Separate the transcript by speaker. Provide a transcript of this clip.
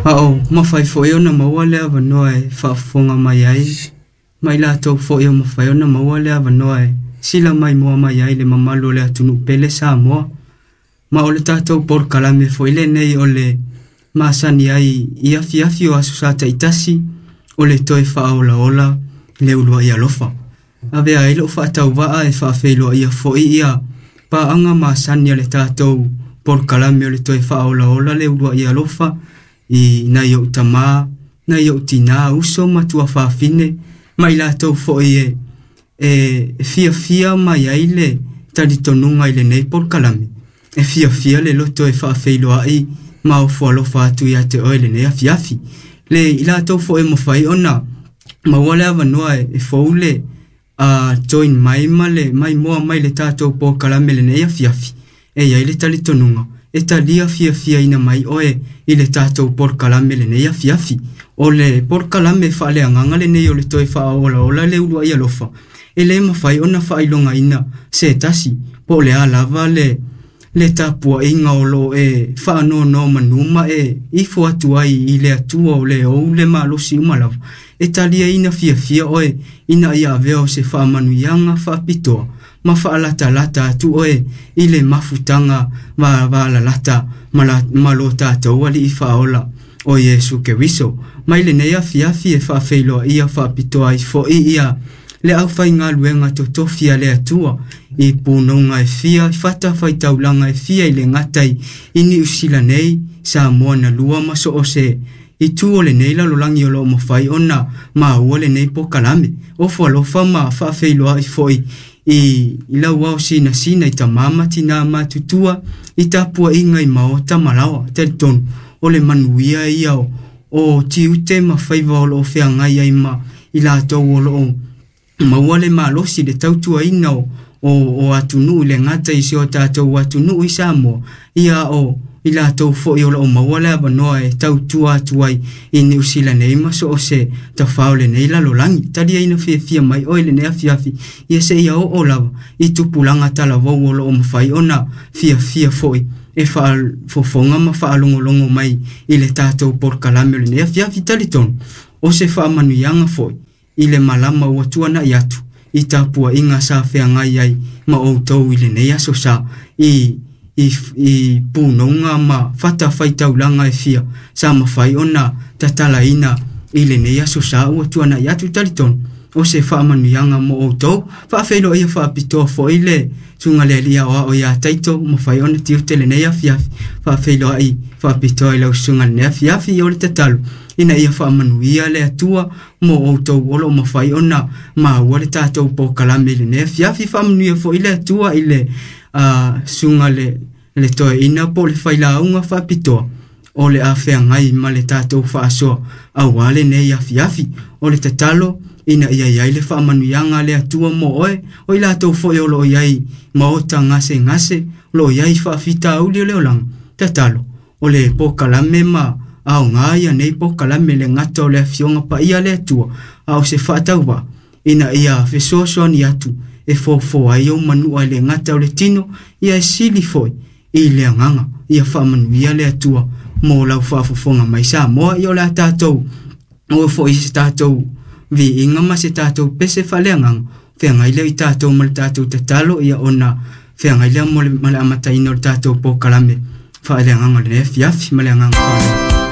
Speaker 1: A o mafai foi ona maua le avanoa e faafofoga mai ai ma i latou foi o mafai ona maua le avanoa e sila maimoa mai ai le mamalu o le atunuu pele Samoa. Ma o le tatou polokalame foi lenei o le masani ai i afiafi o aso Sa taitasi o le toe faaolaola le uluai alofa. Avea ai lou faatauvaa e faafeiloaia foi ia paaga masani a le tatou polokalame o le toe faaolaola le uluai alofa i nai ou tamā, nai ou tinā, uso ma tuafafine ma i latou foi e fiafia mai ai le talitonuga i lenei polokalame. E fiafia le loto e faafeiloai ma ofo alofa atu ia te oe lenei afiafi. Le i latou foi e mafai ona maua le avanoa e fou le join mai ma le maimoa mai le tatou polokalame lenei afiafi. E i ai le talitonuga e talia fiafiaina mai oe i le tatou polokalame lenei afiafi. O le polokalame faaleagaga lenei o le toe faaolaola le uluai alofa e le mafai ona faailogaina se tasi po o le a lava le tapuaiga o loo e faanonomanu ma e ifo atu ai i le Atua o le ou le malosi uma lava. E taliaina fiafia oe ina ia avea o se faamanuiaga faapitoa ma faalatalata atu oe i le mafutaga vavalalata ma lo tatou Alii Faaola o Iesu Keriso. Mai lenei afiafi e faafeiloaia faapitoa ai foi ia le aufaigaluega totofi a le Atua i punoga e fia, i fatafaitaulaga e fia i le gata i Niu Sila nei, Samoa na lua ma so o se itu o lenei lalolagi o loo mafai ona maua lenei polokalame. Ofo alofa ma faafeiloai foi i lau ao sinasina i tamā ma tinā matutua i tapuaiga i maota ma laoa. Talitonu o le manuia ia o tiute ma faiva o loo feagai ai ma i latou o loo maua le malosi le tautuaina o atunuu i le gata i si o tatou atunuu i Samoa, ia o i latou foi o loo maua le avanoa e tautua atu ai i Niu Sila nei ma so o se tafao lenei lalolagi. Taliaina fiafia mai oe lenei afiafi ia seia oo lava i tupulaga talavou o loo mafai ona fiafia foi e faafofoga ma faalogologo mai i le tatou polokalame o lenei afiafi. Talitonu o se faamanuiaga foi i le malama ua tuanai atu i tapuaiga sa feagai ai ma outou i lenei aso sa i punoga ma fatafaitaulaga e fia sa mafai ona tatalaina i lenei aso sa ua tuanai atu. Talitonu o se faamanuiaga mo outou. Faafeiloaia faapitoa foi le susuga le alii aoao ia Taito mafai ona tiute lenei afiafi. Faafeiloai faapitoa i lau susuga lenei afiafi. O le tatalo ina ia faamanuia le Atua mo outou o loo mafai ona maua le tatou polokalame i lenei afiafi. Faamanuia foi le Atua i le susuga le toeaina po o le failauga faapitoa o le a feagai ma le tatou faasoa aua lenei afiafi. O le tatalo ina ia i ai le faamanuiaga a le Atua mo oe, o i latou foi o loo i ai maota gasegase, o loo i ai faafitauli o le olaga. Tatalo o le polokalame ma aoga ia nei polokalame le gata o le afioga paia a le Atua, a o se faatauvaa ina ia fesoasoani atu e fofoa ai ou manua i le gata o le tino, ia e sili foi i le agaga. Ia faamanuia le Atua mo lau faafofoga mai Samoa. Ia o le a tatou oo foi i se tatou viiga ma se tatou pese faaleagaga feagai lea i tatou ma le tatou tatalo, ia ona feagai lea mo le, ma le amataina o le tatou polokalame faaleagaga o lenei afiafi ma le agaga faaaloalo.